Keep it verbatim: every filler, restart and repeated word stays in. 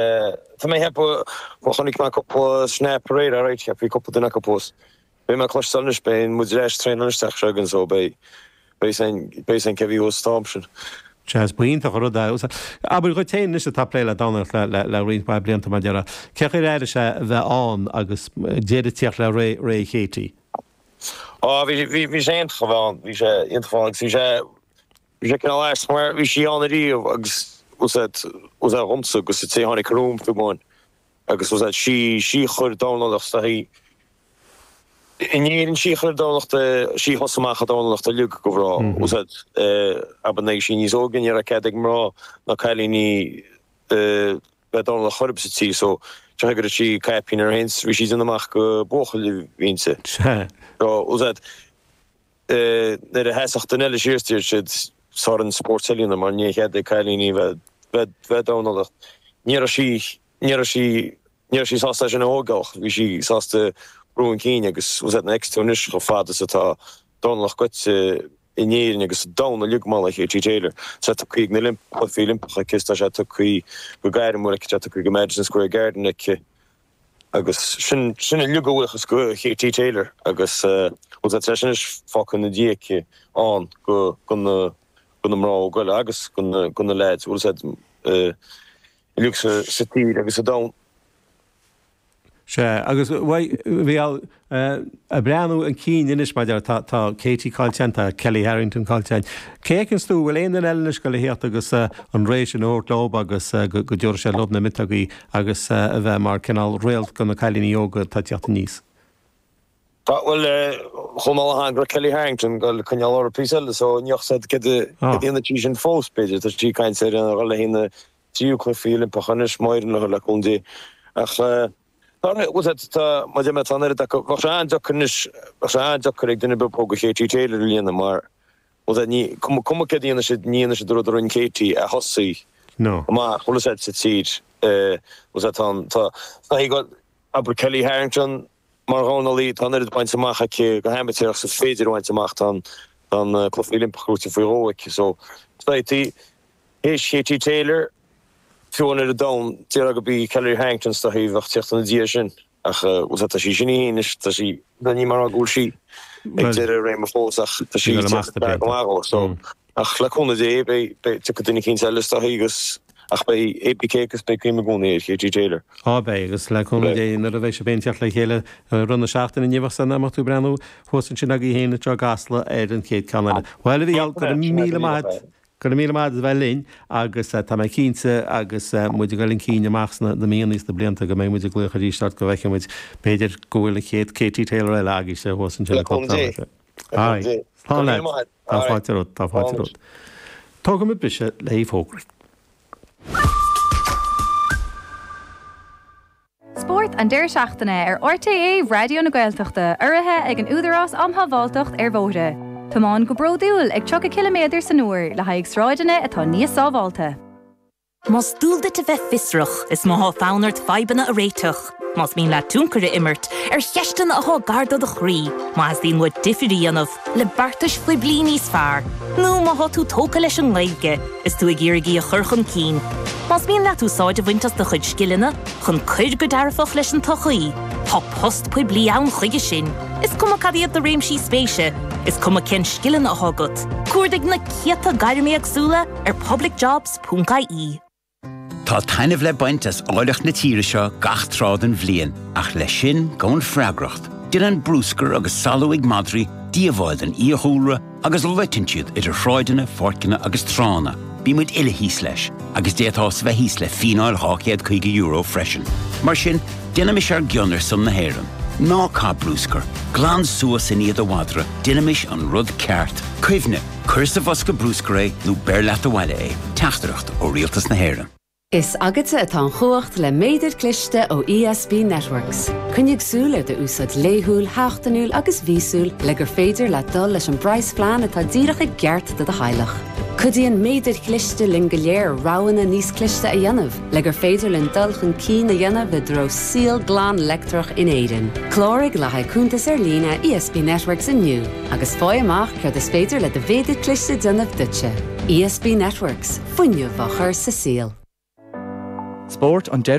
Tá mé ag ceapadh, bhuel chonaic mé cúpla snap aréir, alright, cheap bhí cúpla duine acu thuas. Beidh mé ag cloisteáil anois, beidh muid ar ais traenáil isteach seo againn so beidh, beidh a fhios againn cé bhí thuas an t-am sin. Sea, is iontach an rud é. Abair dhuit féin anois atá ag plé le dornálaíocht le, le, le roinnt mhaith blianta mar déarfá, cén chaoi ar airigh sé a bheith ann agus deireadh ag tíocht le ré, ré Katie? Á, bhí, bhí, bhí sé iontach a bheith ann, bhí sé iontach a bheith ann agus bhí sé, Bhí sé cineál ait mar bhí sí ann ariamh agus was that was that dhomsa agus an té a tháinig romham fiú amháin agus was that sí sí a chuir dornálaíocht sa in Éirinn sí a chuir dornálaíocht sí a thosaigh amach an dornálaíocht uilig go bhreá was that abair nuair a bhí sí níos óige ní raibh cead ag mná ná cailíní bheith ag dornáil chor ar bith sa tír so go raibh sí caipín uirthi féin bhí sí ag déanamh amach gur buachaill a bhí inti. So was that Nuair a sheasfadh duine eile síos deir siad tá orainn spórt eile a dhéanamh mar níl cead ag cailíní bheith ag dornálaíocht. Ní raibh sí, ní raibh sí, ní raibh sí sásta é sin a thógáil, bhí sí sásta brú chun cinn agus was that next to anois chomh fada is atá dornálaíocht gaibhte in Éirinn agus sa domhan uilig mar le Katie Taylor. Tá sé tugtha ag na Cluichí Oilimpeacha aici, tá sé tugtha go gairmiúil aici, tá sé tugtha go Madison Square Garden aici. Agus sin, sin uilig a bhuíochas go Katie Taylor agus bhuel tá sé anois fágtha ina diaidh aici ann go, go na, go na mná óga eile agus go na, go na leaids, bhfuil a fhios a'd, uilig sa, sa tír agus sa domhan. Sea, agus bhuel, bhí al, ag breathnú chun cinn anois mar deir, tá, tá Katie caillte againn, tá Kellie Harrington caillte againn. Cé a fheiceanns tú, bhfuil aon duine eile anois ag goil a thíocht agus an ré sin a thabhairt leob agus go dtabharfaidh sé leob na miotógaí agus a bheith mar cineál réalt do na cailíní óga atá ag tíocht aníos? Tá, bhuel, chuala mé le go raibh Kellie Harrington ag goil ag coinneáil uirthi píosa eile so ní fhios a'd céard a dhéanfaidh sí sin fós, b'fhéidir, tá sí ag caint ar a dhul le haghaidh na tríú cluichí Oilimpeacha anois, má éiríonn léi le cúnamh Dé. Ach. Tá, bhfuil a fhios a'd, tá, mar a deir mé, tá an oiread acu, bheadh sé an-deacair anois, bheadh sé an-deacair ag duine ar bith ba mhó go Katie Taylor a líonadh mar, bhfuil a fhios a'd, ní, cuma, cuma céard a dhéanfaidh siad, ní dhéanfaidh siad an rud a rinne Katie a thosaigh No. amach, bhfuil a fhios a'd, sa tír, bhfuil a fhios a'd, tá an, tá, tá, tá, abair Kellie Harrington mar dhornálaí, tá an oiread bainte amach aici go hamaitéarach is is féidir a bhaint amach, tá an, tá an Cluichí Oilimpeach gnóite faoi dhó aici, so, tá, théis Katie Taylor, fiú an oiread domhan, déarfá gurb í Kellie Harrington is dóichí a bheadh tíocht ina diaidh sin, ach bhfuil a fhios a'd, tá sí sin í féin anois, tá sí, ní mar go bhfuil sí ag deireadh a réime fós ach tá sí ag tíocht isteach go maith dhó, so, ach le cúnamh Dé, beidh, beidh, tiocfaidh duine eicínt eile is dóichí agus, ach beidh APK agus beidh cuimhne i gcónaí ar Katie Taylor. Á beidh, agus le cúnamh Dé nuair a bheidh sibh féin ag tíocht le chéile i rith na seachtaine inniu ach san am tú ag breathnú thuas ansin agaibh féin i dTrá gCasla ar an chéad ceann eile. Bhuel, a Mhícheáil, go raibh míle maith agat. Go raibh míle maith agat as bheith linn agus tá mé cinnte agus muid ag dul chun cinn amach sna na míonna is na blianta go mbeidh muid ag glaoch arís ort go bhfeicfidh muid b'fhéidir go bhfuil an chéad Katie Taylor eile agaibhse thuas ansin Le i gClub cúnamh Dé. Dé. Le cúnamh Dé. Go Slán raibh leat. míle maith agat. Tá Alright. fáilte romhat. Tá fáilte Slán. romhat. Tógfaimid briseadh le haghaidh fógraí. Spórt an deireadh seachtaine ar RTÉ Raidió na Gaeltachta, urraithe ag an Údarás um Shábháilteacht ar Bhóithre. Tiomáin go bródúil ag tríocha ciliméadar san uair le haghaidh sráideanna atá níos sábháilte. Más dual duit a bheith fiosrach, is má tá fonn ort fadhbanna a réiteach, más mian leat tionchar a imirt ar cheisteanna atá gar do do chroí, má theastaíonn uait difear a dhéanamh le beartais phoiblí níos fearr, nó má tá tú tógtha leis an nGaeilge is tú ag iarraidh í a chur chun cinn. Más mian leat úsáid a bhaint as do chuid scileanna chun cur go dearfach leis an tsochaí, tá post poiblí ann chuige sin. Is cuma cad iad do réimsí spéise, is cuma cén scileanna atá agat, cuardaigh na céadta gairm éagsúla ar publicjobs ponc ie. Tá taitneamh le baint as áilleacht na tíre seo gach tráth den bhliain, ach leis sin gabhann freagracht. Déanann bruscar agus salú ag madraí díobháil don fhiadhúlra agus loiteann siad idir shráideanna, pháirceanna agus tránna. Bíonn muid uile thíos leis, agus d'fhéadfá a bheith thíos le fíneáil dhá chéad caoga euro freisin. Mar sin, déanaimis ár gcion ar son na hÉireann. Ná caith bruscar, glan suas i ndiaidh do mhadra, déanaimis an rud ceart. Cuimhnigh, cuir sa bhosca bruscair é nó beir leat abhaile é. Teachtaireacht ó Rialtas na hÉireann. Is agatsa atá an chumhacht le méadar cliste ó ESB Networks. Coinnigh súil ar d'úsáid laethúil, sheachtainiúil agus mhíosúil le gur féidir leat dul leis an bpraghasphlean atá díreach i gceart do do theaghlach. Cuidíonn méadair chliste linn go léir roghanna níos cliste a dhéanamh le gur féidir linn dul chun cinn a dhéanamh i dtreo saol glan leictreach in Éirinn. Cláraigh le haghaidh cuntas ar líne ESB Networks inniu agus faigh amach céard is féidir le do mhéadar cliste déanamh duitse. ESB Networks, fuinneamh á chur sa saol. Spórt an